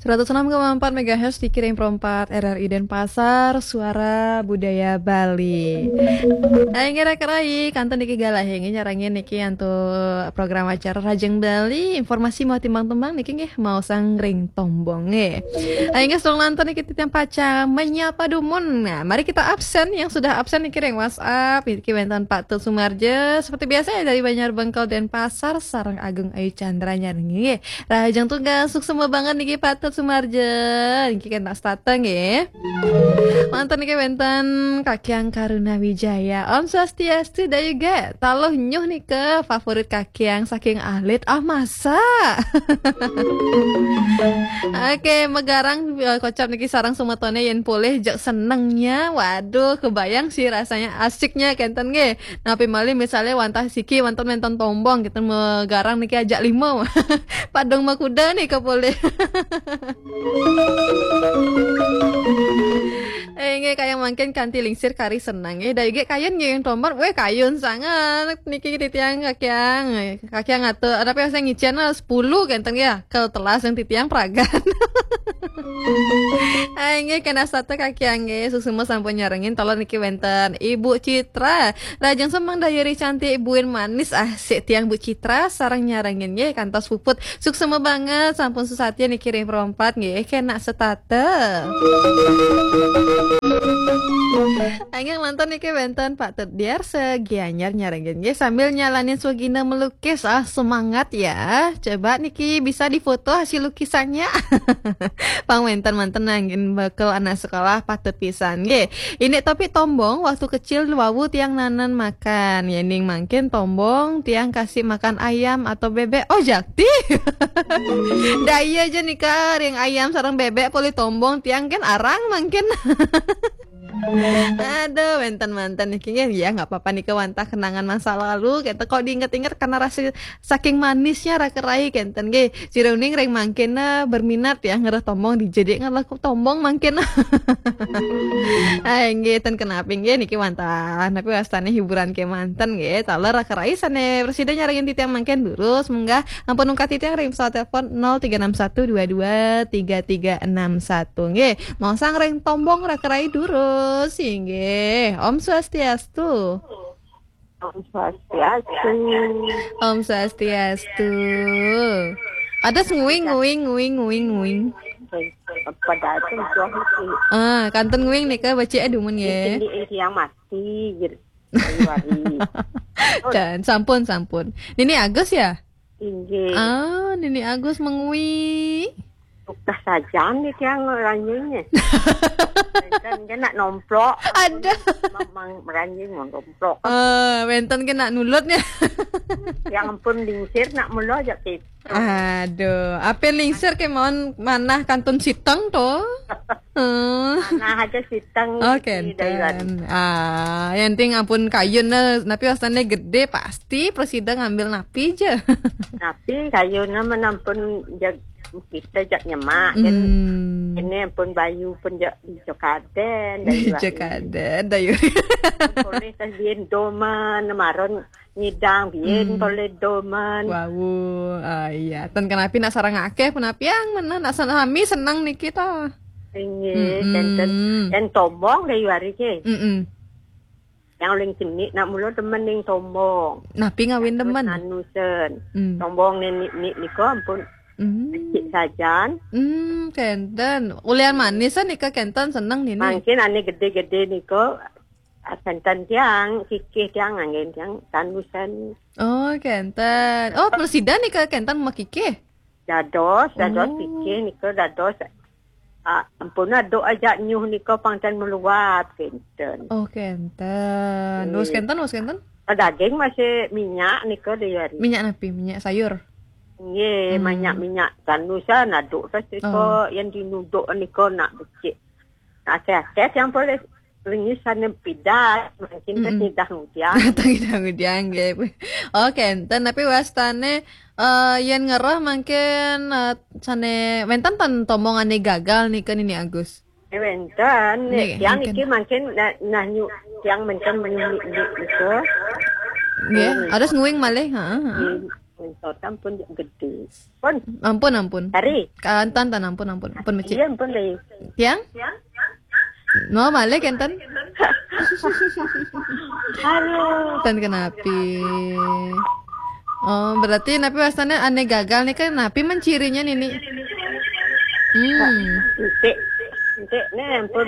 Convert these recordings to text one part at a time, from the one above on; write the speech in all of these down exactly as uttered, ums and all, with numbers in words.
Seratus enam koma empat megahertz di Kiring Perempat R R I Denpasar, Suara Budaya Bali. Ayo ngira kerai, kantun niki galah nggih nyarengin niki antuk program acara Rajeng Bali, informasi mau timbang-timbang niki nggih mau sangring tombong nggih. Ayo nggih, sedulur nonton niki titiang pacang menyapa dumun. Nah, mari kita absen yang sudah absen niki ring WhatsApp, niki wénten Pak Tut Sumarja seperti biasa ya dari Banjar Bengkel Denpasar sareng Agung Ayu Chandra nyarengin nggih. Rahajeng tunggal, suksma banget niki Pak Tut Sumarja. Niki kan tak setata nggih. Manten niki wénten Kakyang Karuna Wijaya. Om Swastiastu, Dayu ge. Taluh nyuh nika favorit Kakyang saking alit. Ah, masa? Oke, megarang, eh, kocap niki sareng semetoné yén polih jeg senengnya. Waduh, kebayang sih rasanya asiknya kénten nggih. Napi malih misalnya wantah siki wénten wénten tombong, kita megarang niki ajak lima. Padung makuda nih kapolih. Eh, nggih, kayang mangkin kanti lingsir kari seneng. Eh, Dayu ge kayun nggih tombong. Weh, kayun sanget niki titiang Kakyang. Kakyang atur, ada apa yang saya ngicén, eh, sepuluh kénten ya. Kalau telas yang titiang peragan. Ayo nggih, kena satu Kakyang nggih. Suksma sampun nyarengin, tolong niki wénten Ibu Citra. Lajeng semeng dayuri cantik, buin manis, ah, sik tiang Bu Citra, sareng nyarengin nggih, kantos puput. Suksma banget, sampun susatya niki ring perompat nggih, kena setata. Angin manten niki wénten Pak Tut Diarsa, Gianyar nyarengin nggih, sambil nyalanin swagina melukis. Ah, semangat ya. Coba niki bisa difoto hasil lukisannya. Pang wénten manten nangin bekel anak sekolah patut pisan nggih. Ini tapi tombong waktu kecil wau tiang nanan makan. Yéning mangkin tombong tiang kasih makan ayam atau bebek. Oh, jakti. Daya aja nika ring ayam sareng bebek polih tombong tiang kan arang mangkin. Aduh, wénten manten niki nggih, ya nggak apa-apa nika wantah kenangan masa lalu. Kita kok diinget-inget karena rasa saking manisnya raka rai kénten nggih. Siruning ring mangkin, eh, berminat ya ngereh tombong dijadi ngereh tombong mangkin. Ai nggih, ten kenapi nggih niki wantah. Tapi wastane hiburan kemanten nggih. Taler raka rai sane presida nyarengin titiang mangkin durus munggah ampun ungkat titiang ring pesawat telepon nol tiga enam satu dua dua tiga tiga enam satu nggih. Mau sang ring tombong raka rai durus nggih. Om Swastiastu. Om Swastiastu. Om Swastiastu. Ada nguing, nguing, nguing, nguing, nguing. Apa datang tuh sih? Ah, kantun nguing nika becik dumun nggih. Ini yang mati gitu. Hari. Dan sampun, sampun. Nini Agus ya? Inggih. Ah, Nini Agus mengui. Tukah sajan nih tiang ranjingnya. Dan dia nak nomplok. Ada. Mang, mang ranjing mau nomplok. Eh, wénten kena nulutnya. Yang pun lingsir nak mula aja pit. Aduh, apa lingsir kemauan manah kantun siteng tuh? Hmm. Manah aja siteng. Oh, kénten. Ah, yang penting ampun kayun, eh, napi wastane gede, pasti presida ngambil napi aja. Napi kayun, eh, menampun jag-, kita jak nyemak kan. Hmm. Ini ampun bayu pun jak di Jokaden, dari Jokaden, dari boleh tas bien doman, maron nyidang bien, hmm, boleh doman. Wau, ah, iya. Ten kenapi nak sarang akeh, penapi yang mana nak sami senang niki ta. Inggih, mm-mm, kénten. Yang tombong dari hari ke. Mm-mm. Yang uling cenik nak mula demen ning tombong. Napi ngawin demen? Nanusen. Hmm. Tombong nenek nik niko ampun. Hmm. Cik sajan. Hmm, kénten. Ulian manis nika kénten seneng nini. Mungkin ane gede-gede niko, ah, kénten tiang, kikih tiang angin tiang tanusen. Oh, kénten. Oh, presida nika kénten makikih. Dados, dados, oh, kikih nika dados. Ah, ampun aduk aja nyuh nika pangten meluap kénten. Oh, kénten. Nggih. Wes kénten, wes kénten? Ah, daging masih minyak nika dari hari. Minyak napi? Minyak sayur? Nggih, hmm, minyak, minyak tanusan aduk terus nika, oh, yang dinuduk nika nak becik. Akeh-akeh yang boleh lengis sana pidas, mungkin, mm-mm, nyidah ngudiang. Tang nyidah ngudiang, nggih. Oh, kénten, tapi wastane, eh, yen ngerah mungkin, eh, sane wénten ten tombongane gagal nika Nini Agus. Eh, wénten, nggih, yang mungkin iki mungkin nah, nah nyu, yang mungkin nyu, nyu, nyu, itu. Nggih, hmm, ada nguing malih, heeh, heeh. Nggih. Mintot ampun gede. Pun, Ampun, ampun. Tari. Kantan, tan, ampun, ampun. Ampun, Becik. Iya, ampun deh. Tiang? No, malih kenten. Aduh. Tan kenapi. Oh, berarti napi wastane ane gagal nih kan, napi mencirinya nini? Hmm. Entik. Entik nih ampun,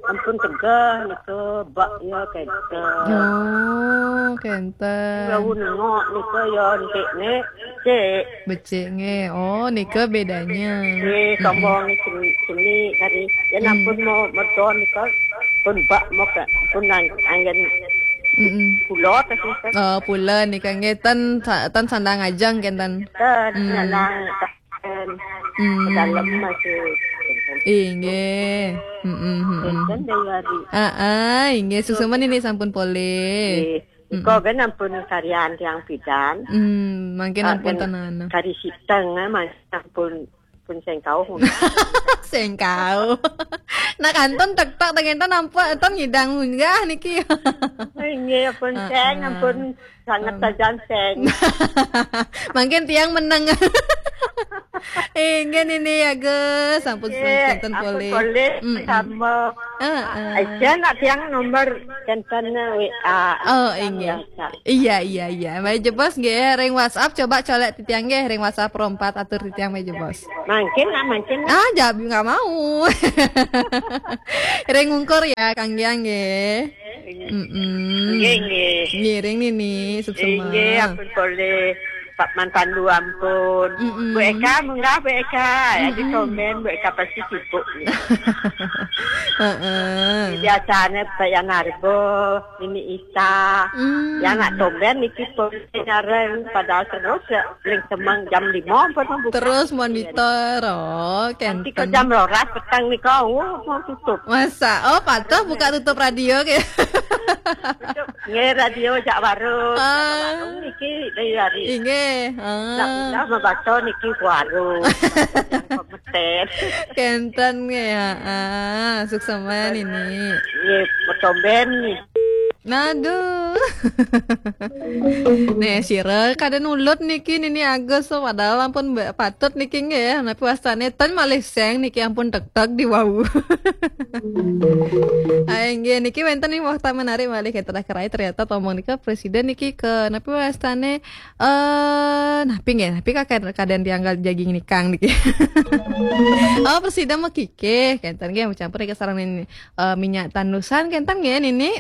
ampun tegah nika bak ya kenten. Oh, kenten. Jauh nengok nika ya entik nih. Cik. Becik nge. Oh, nika bedanya. Eh, sombong ni sini, sini tadi. Ya ampun mau merton nika pun bak mau ke pun ang-, angin Mm-mm. pulau tadi kan. Oh, pula nika nge tan sa- tan sandang ajang kenten. Kan Hmm. nyalang kan Hmm. dalam masih. Inggih. Mm-mm, mm-mm. Kan dari hari. Ah, ah, inggih suksma nini sampun polih. Eh, nika kan ampun karyan tiang bidan. Hmm, mangkin Ah, ampun kan tanana. Kari siteng eh, mas ampun pun sengkau. Sengkau. Nah, kantun tek-tek dengan tan nampak tan ngidang munggah niki. Inggih ampun Ah, seng ah. Ampun sangat sajan seng. Mangkin tiang meneng. Inggih nini ya, Gus. Sampun Inggih, kenten ampun polih. polih Mm-mm. Sama. Ah, ah. Aja nak tiang nomor kenten W A. Oh, inggih. Iya, iya, iya. Baik jebos nggih, ring WhatsApp coba colek titiang nggih, ring WhatsApp rompat atur titiang baik jebos. Mangkin lah, mangkin lah. Ah, jawab nggak mau. Ring ungkur ya, Kang Giang nggih. Mm-mm. Nggih, nggih. Ngiring nini, suksma. Inggih, ampun polih. Pak Man Pandu ampun. Mm-mm. Bu Eka, munggah Bu Eka. Ya, di Mm-mm. komen Bu Eka pasti sibuk nih. Heeh. Biasanya Pak Yanarbo, Nini Ita. Hmm. Ya nak tomben niki pun nyareng padahal terus ya, paling semang jam lima pun membuka. Terus monitor, oh, Nanti ke kenten. Jam rolas petang nih kau mau tutup. Masa, oh, patuh buka tutup radio ke? Nggih radio jak warung. Ah. Jak warung niki dari hari. Inggih. Ah. Nak pindah membaca niki ke warung. Pemetet. Kenten nggih, heeh. Suksma nini. Nggih, betomben nih. Aduh. Nih, sira kada nulut niki nini Agus, padahal ampun ba- patut niki nggih. Napi wastane ten malih seng niki ampun tek-tek di wau. Ai nggih, niki wenten nih waktu menarik malih kita kerai ternyata tomong nika presiden niki ke napi wastane eh napi nggih, napi kakek kadang dianggal jaging nikang niki. Oh, presiden mau kikih, kenten nggih campur niki sarang nini eh, minyak tanusan kenten nggih nini.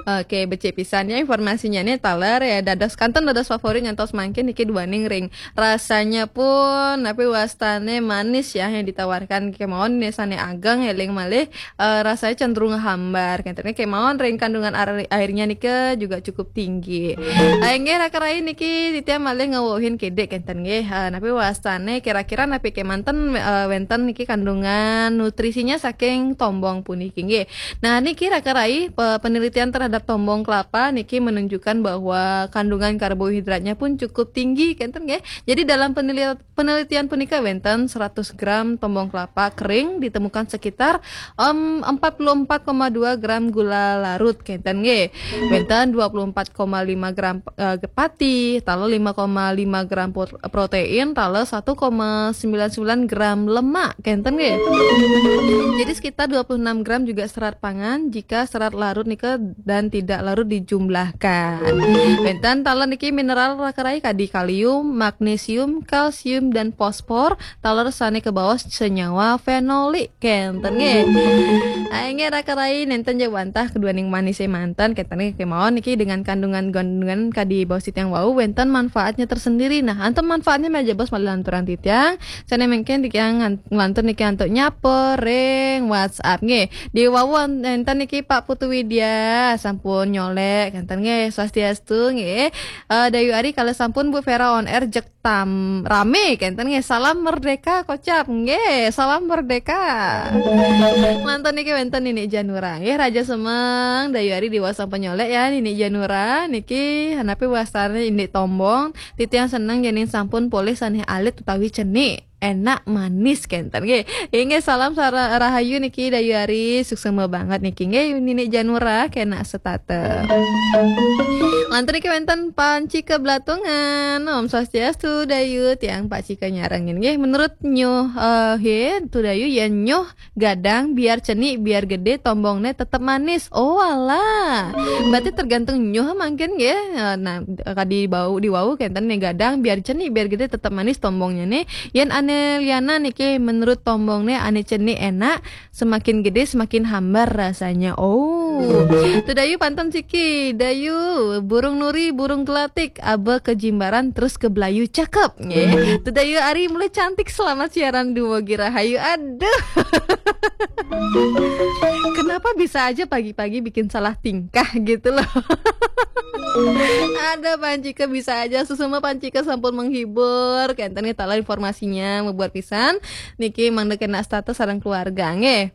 Oke, becik pisan ya informasinya nih taler ya dados kanten dados favorit nyantos mangkin niki duaning ring rasanya pun tapi wastane manis ya yang ditawarkan kemawon nih sane ageng eling malih eh, rasanya cenderung hambar kenten kemawon ring kandungan air, airnya nika juga cukup tinggi. Ayo nggih raka rai niki titiang malih ngewuhin kedek kenten nggih. Eh, napi wastane kira-kira napi kemanten eh, wenten niki kandungan nutrisinya saking tombong puniki nggih. Nah, niki raka rai pe- penelitian terhadap tombong kelapa niki menunjukkan bahwa kandungan karbohidratnya pun cukup tinggi kenten nggih. Jadi dalam penelitian penelitian punika wenten seratus gram tombong kelapa kering ditemukan sekitar em, empat puluh empat koma dua gram gula larut kenten nggih. Wenten dua puluh empat koma lima gram eh, pati, taler lima koma lima gram pro- protein, taler satu koma sembilan sembilan gram lemak kenten nggih. Jadi sekitar dua puluh enam gram juga serat pangan jika serat larut nika dan tidak larut dijumlahkan. Wenten taler niki mineral raka rai kadi kalium, magnesium, kalsium dan fosfor, taler sane kebaos senyawa fenolik kenten nggih. Ayo nggih raka rai nenten ja wantah keduaning manis manten kenten nggih kemawon niki dengan kandungan-kandungan kadi baos titiang wau wenten manfaatnya tersendiri. Nah, anten manfaatnya meja bos malih lanturan titiang. Sane mungkin titiang ngan- nglantur niki antuk nyapa ring WhatsApp nggih. Di wau nenten niki Pak Putu Widya sampun nyolek kenten nggih swastiastu nggih. Eh, Dayu Ari kalau sampun Bu Vera on air jek tam rame kenten nggih salam merdeka kocap nggih salam merdeka. Mantan niki wenten nini Janura nggih Raja Semeng Dayu Ari diwasa penyolek ya nini Janura niki hanapi wasane indik tombong titiang seneng yening sampun polih sanih alit utawi cenik. enak manis kenten nggih. Inggih, salam sara-, rahayu niki Dayu Ari, suksma banget niki nggih Nini Janura kena setata. Lantur niki wenten Panci Keblatungan. Om Swastiastu Dayu, tiang Panci kenyarengin nggih. Menurut nyuh, eh, he, Tu Dayu, yen nyuh gadang biar cenik biar gede tombongne tetep manis. Oh alah. Berarti tergantung nyuh mangkin nggih. Nah, kadi bau di wau kenten ne gadang biar cenik biar gede tetep manis tombongne ne. Yen ane liana niki menurut tombongne ane cenik enak, semakin gede semakin hambar rasanya. Oh. Tu Dayu pantun siki. Dayu, burung nuri, burung gelatik, abe ke Jimbaran terus ke Belayu cakep. Nggih. Tu Dayu Ari mulai cantik, selamat siaran dumugi rahayu. Aduh. Kenapa bisa aja pagi-pagi bikin salah tingkah gitu loh. Ada Pancika bisa aja, susuma Pancika sampun menghibur. Kenten nggih talah informasinya, membuat pisan. Niki mangda kena status sareng keluarga nggih.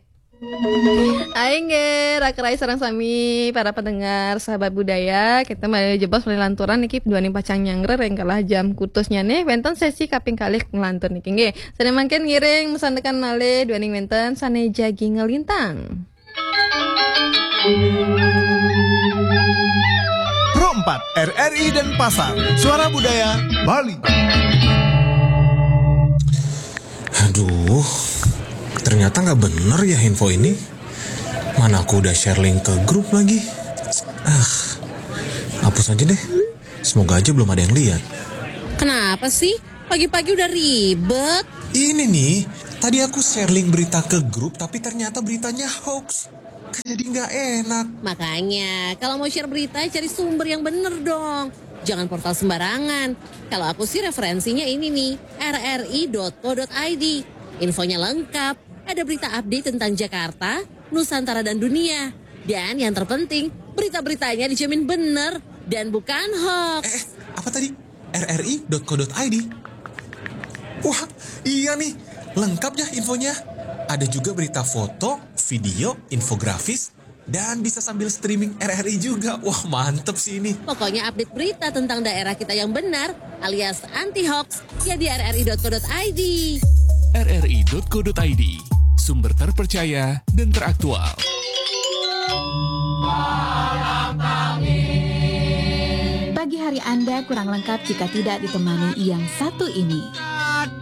Aing nggih, Raka Rai sareng sami para pendengar Sahabat Budaya, kita mari jebos mari lanturan niki duaning pacang nyanggra ring kalah jam kutusnya nih, wenten sesi kaping kalih ngelantur niki nggih. Sane mangkin ngiring mesandekan malih duaning wenten sane jagi ngelintang. Pro empat, R R I Denpasar, Suara Budaya Bali. Aduh, ternyata nggak bener ya info ini. Mana aku udah share link ke grup lagi. Ah, hapus aja deh. Semoga aja belum ada yang lihat. Kenapa sih? Pagi-pagi udah ribet. Ini nih, tadi aku share link berita ke grup tapi ternyata beritanya hoax. Kan jadi nggak enak. Makanya, kalau mau share berita, cari sumber yang bener dong. Jangan portal sembarangan. Kalau aku sih referensinya ini nih, rri.co.id. Infonya lengkap, ada berita update tentang Jakarta, Nusantara dan dunia. Dan yang terpenting, berita-beritanya dijamin bener dan bukan hoax. Eh, apa tadi? rri.co.id. Wah, iya nih, lengkap ya infonya. Ada juga berita foto, video, infografis, dan bisa sambil streaming R R I juga. Wah, mantep sih ini. Pokoknya update berita tentang daerah kita yang benar alias anti hoax ya di rri.co.id. rri.co.id, sumber terpercaya dan teraktual. Pagi hari Anda kurang lengkap jika tidak ditemani yang satu ini.